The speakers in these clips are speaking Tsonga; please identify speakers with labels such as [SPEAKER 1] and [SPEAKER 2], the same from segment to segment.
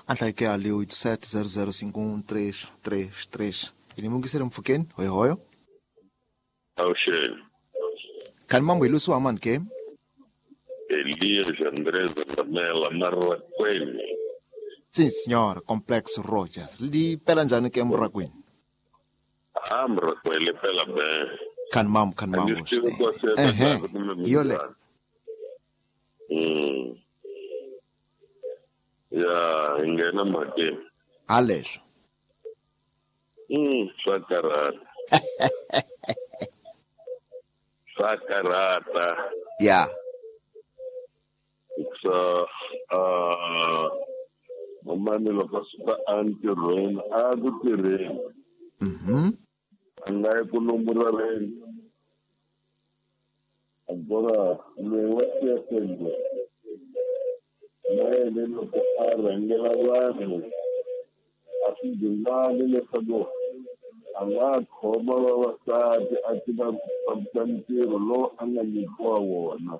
[SPEAKER 1] Anhlake ali 87005133. Inimungisele mfukeni, hoyo hoyo.
[SPEAKER 2] Awushele.
[SPEAKER 1] Kan mambo ilusu aman ke?
[SPEAKER 2] Elias Andrés Ramela Marraquene.
[SPEAKER 1] Sim, senhor, Complexo Rogers. Li pela njani ke Mrakwini?
[SPEAKER 2] Ah, Mrakwele pela bem.
[SPEAKER 1] Kan mambo, kan mambo. Eh, yole.
[SPEAKER 2] Ya, ingena mhakeni.
[SPEAKER 1] Haleswo.
[SPEAKER 2] Swa karhata. Swa karhata.
[SPEAKER 1] Ya.
[SPEAKER 2] So, mamani loko a suka entirhweni a ku tirheni. A nga yi ku nomboreleni. Agora loyi wa xiyenge na yena loko a rhangela vanhu a swi dingani leswaku a nga khoma vavasati a tiva ku fambisa ntirho lowu a nga nyikiwa wona.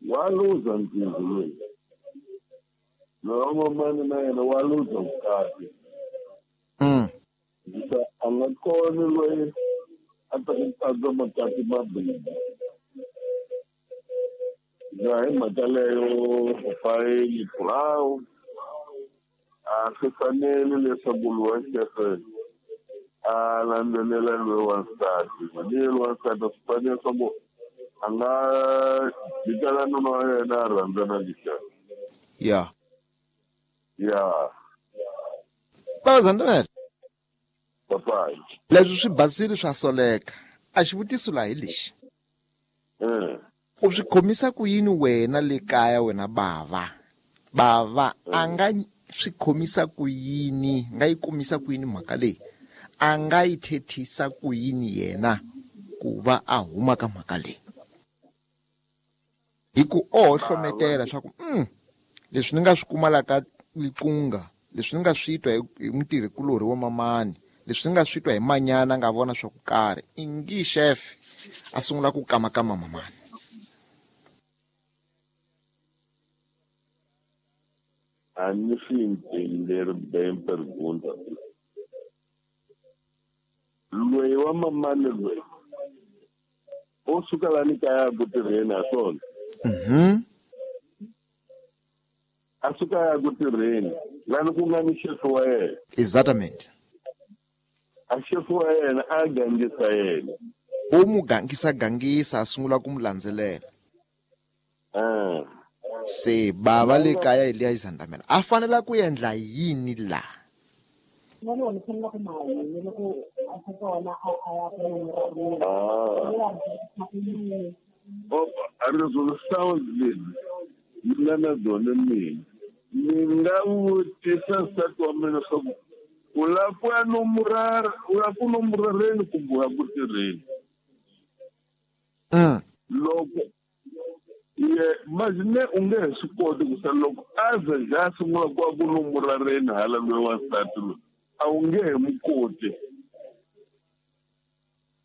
[SPEAKER 2] Wa luza ntirho loyi. Loyi wa mamani na yena wa luza vukati. A nga koni loyi a ta ku katsa makati mambirhi. Ya hi mhaka leyo fayili brown a swi fanele leswaku loyi wa xefe a landzelela loyi wa nsati. Mani loyi wa nsati a swi fanele leswaku a nga jikela nuna wa yena a rhandzana lexiya.
[SPEAKER 1] Ya.
[SPEAKER 2] Ya.
[SPEAKER 1] Baba Zandamela.
[SPEAKER 2] Papayi.
[SPEAKER 1] Leswi swi basile swa soleka. A xivutiso laha hi lexi. U swi khomisa ku yini wena le kaya wena bava? Bava a nga swi khomisa ku yini, nga yi kumisa ku yini mhaka leyi? A nga yi thethisa ku yini yena ku va a huma ka mhaka leyi? Hi ku o hlometela swa ku leswi ni nga swi kuma la ka Liqunga, leswi ni nga swi twa hi mutirhikulorhi wa mamani, leswi ni nga swi twa hi manyana nga vona swa ku karhi, ingi chef a sungula ku kamakama mamani.
[SPEAKER 2] A ni swi entender bem pergunta. Loyi wa mamani loyi o suka la ni kaya ku tirheni ha swona. A suka ya ku tirheni lani ku nga ni xefu wa yena.
[SPEAKER 1] Exatamente.
[SPEAKER 2] A xefu wa yena a gangisa yena.
[SPEAKER 1] U mu gangisa gangisa a sungula ku mu landzelela. Se bava le kaya Elias Zandamela a fanela ku endla yini la?
[SPEAKER 2] Opa, a resolução dele ni nga na byona mina. Ni nga vutisa nsati wa mina leswaku u lava ku ya nomorara, u lava ku nomorareni kumbe u ya ku tirheni. Loko ye imagine u nge he swi koti ku sa loko a ze a sungula ku ya ku nomorareni hala loyi wa nsati loyi a wu nge he mu koti.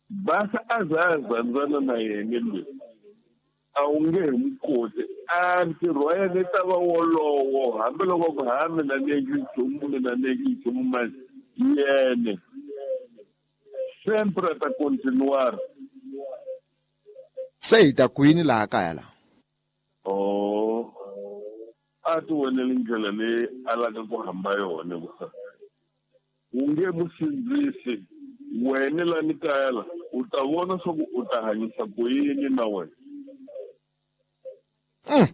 [SPEAKER 2] Basa a za a zandzana na yena loyi a wu nge he mu koti. A ntirho wa yena i ta va wolowo hambiloko ku ha mina ni endli nchumu, mina ni endli nchumu manje yene sempre ta continuar.
[SPEAKER 1] Se hi ta kwini laha kaya la?
[SPEAKER 2] Oh, a ti voneli ndlela leyi a lavaka ku hamba yona ku u nge mu sindzisi wena la ni kaya la u ta vona swa ku u ta hanyisa ku yini na wena. É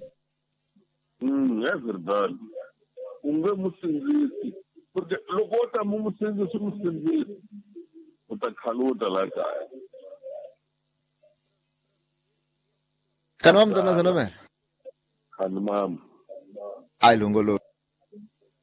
[SPEAKER 2] verdade. U nge mu sindzisi porque loko wo ta mu sindzisi mu sindzisi u ta khaluta la kaya.
[SPEAKER 1] Kana wa mntana Zandamela?
[SPEAKER 2] Khani mama.
[SPEAKER 1] Ai longolo.